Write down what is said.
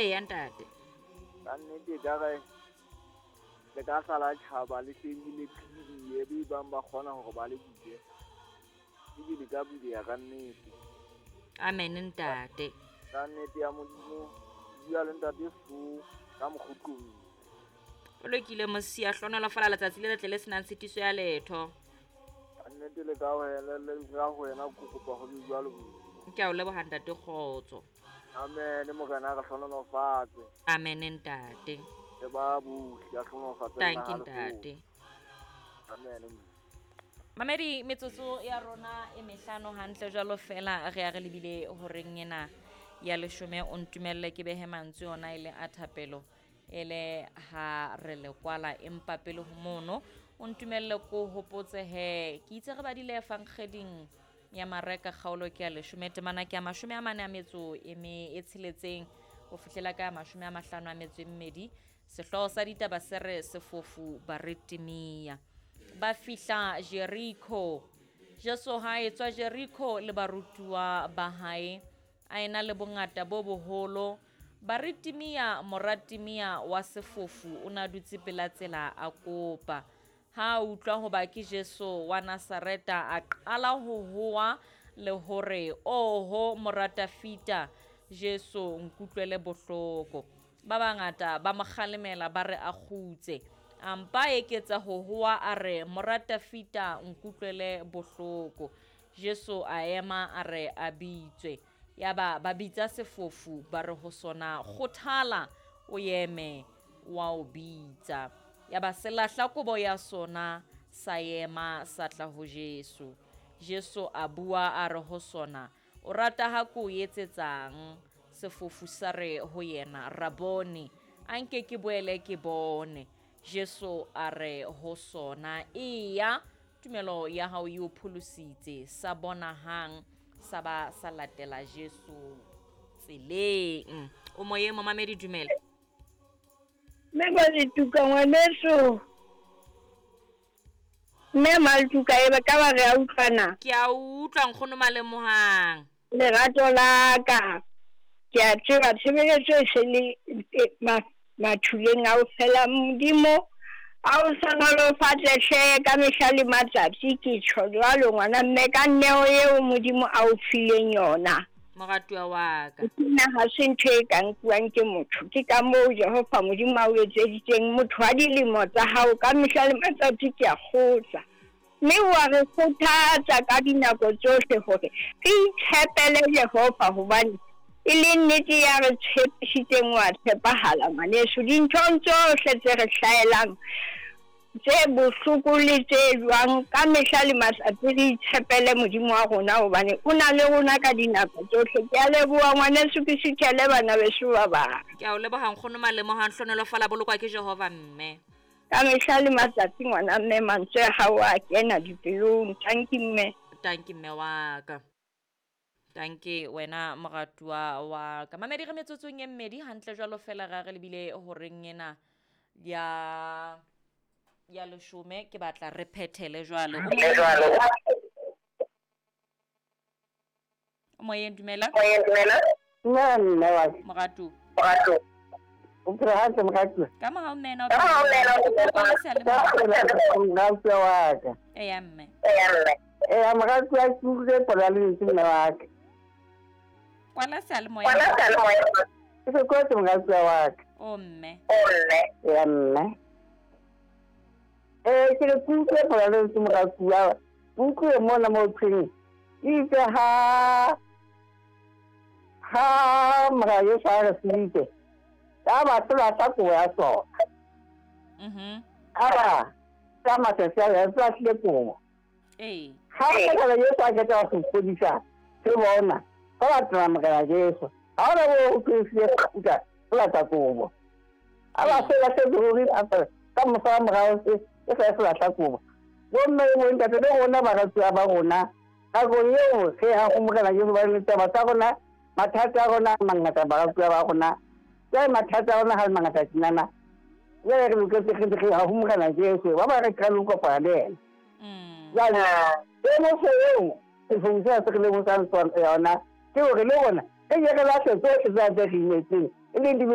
Eya ntate. Ka nnete ekare le ka sala tjhaba le hleng le qhibidiye be bang ba kgona hore ba le bule. Ebe le ka buleha ka nnete. Amen ntate. Ka nnete ya Modimo, bua le ntate Fo ka mokgotlong. O lokile mosia, hlohonolofala letsatsi le letle le senang tshitiso ya letho. Ka nnete le ka wena le ka ho wena ke kopa ho be jwalo Modimo. Ke a o leboha ntate kgotso. Amen, Morena a re hlohonolofatse. Amen ntate. Le ba bohle a hlohonolofatse Thank you ntate. Amen. Mamedi metsotso ya rona e mehlano hantle jwalo fela re ya re lebile horeng ena ya leshome o ntumelle ke behe mantswe ona e le a thapelo e le ha re le kwala empa pele ho mono o ntumelle ko hopotse he ke itse re badile efankgeding ya Mareka kgaolo ke ya leshome temana ke ya 44 e me e tsheletseng ho fihlela ka 52 sehlooho sa ditaba se re sefofu Baretimia ba fihla Jeriko. Jesu ha etswa Jeriko le barutuwa ba hae a ena le bongata bo boholo. Baretimia moratimia wa sefofu o na dutse pela tsela a kopa. Ha a utlwa hoba ke Jesu wa Nazareta a qala ho hoa le hore oho mora Dafita Jesu nkutlwele bohloko. Ba bangata ba mo kgalemela ba re a kgutse. A mpa eketsa ho hoa a re mora Dafita nkutlwele bohloko. Jesu a ema a re a bitswe. Yaba ba bitsa sefofu ba re ho sona kgothala o eme wa o bitsa. Yaba se lahla kobo ya sona sa ema sa tla ho Jesu. Jesu a bua a re ho sona o rata ha ko etsetsang? Sefofu sa re ho yena Raboni a nke ke boele ke bone. Jesu a re ho sona eya tumelo ya hao e o pholositse. Sa bona hang sa ba sa latela Jesu tseleng. O moyeng momamedi dumela. Mme Maletuka ngwaneso. Mme Maletuka e ba ka ba re a utlwana. Ke a utlwa nkgono Malemohang. Lerato la ka. Ke a tseba tshebeletso e se le mathuleng a o fela Modimo a o hlohonolofatse hle ka mehla le matsatsi ke tjho jwalo ngwana mme ka neo eo Modimo a o fileng yona. Moratuwa wa ka. Nna ha se ntho e ka nkuwang ke motho, ke ka moo Jehova Modimo a o etseditseng motho wa dilemo tsa hao ka mehla le matsatsi ke a kgotsa. Mme wa re kgothatsa ka dinako tsohle hore re itshepele Jehova hobane e le nnete ya re tshepisitseng wa tshepahala ngwaneso dinthong tsohle tse re hlahelang tse bohloko le tse jwang ka mehla le matsatsi re itshepele Modimo wa rona hobane o na le rona ka dinako tsohle. Ke a leboha ngwaneso ke suthele bana beso ba bang. Ke a o leboha nkgono Malemohang hlohonolofala bolokwa ke Jehova mme. Ka mehla le matsatsi ngwana mme mantswe a hao a kena dipelong. Thank you mme. Thank you mme wa ka. Tanke wena moratuwa wa ka. Mamedi re metsotsong e mmedi hantle jwalo fela ra re lebile horeng ena ya leshome ke batla re phethele jwalo. O moyeng dumela. Nna mme wa ka. Moratu. O phela hantle moratuwa. Ka mohau mme na o phela. Moratuwa wa ka. Eya mme. Eya moratuwa ke utlwile pola lentswe mme wa ka. Kwala seyalemoya. Ke se kotsi moratuwa wa ka. O mme. Eya mme. Ke re ke utlwe pola lentswe moratuwa. Ke utlwe mona mo thweng. Itse ha mora Jesu a re feditse. Ka batho ba sa kobo ya sona. A ba ka matsatsi a ya tla tlile kobo. Ha morena Jesu a qeta ho fodisa se bona ka batho morena Jesu. Ha ona bo o tlile kgutla o lata kobo. A ba se ba se ruri a ka mosa morao se e sa se batla kobo. Bomme bo ntate le rona baratuwa ba rona nakong eo ge a go morena Jesu ba le taba tsa rona mathata a rona a mangata baratuwa ba rona. Jwale mathata a rona ha le mangata tjenana. Jwale re loketse re ha ho morena Jesu ba ba re qale ho kopana le yena. Jwale temoso eo sefofu se re lemosang yona ke hore le rona re ye re lahle tsohle tse re imetseng e leng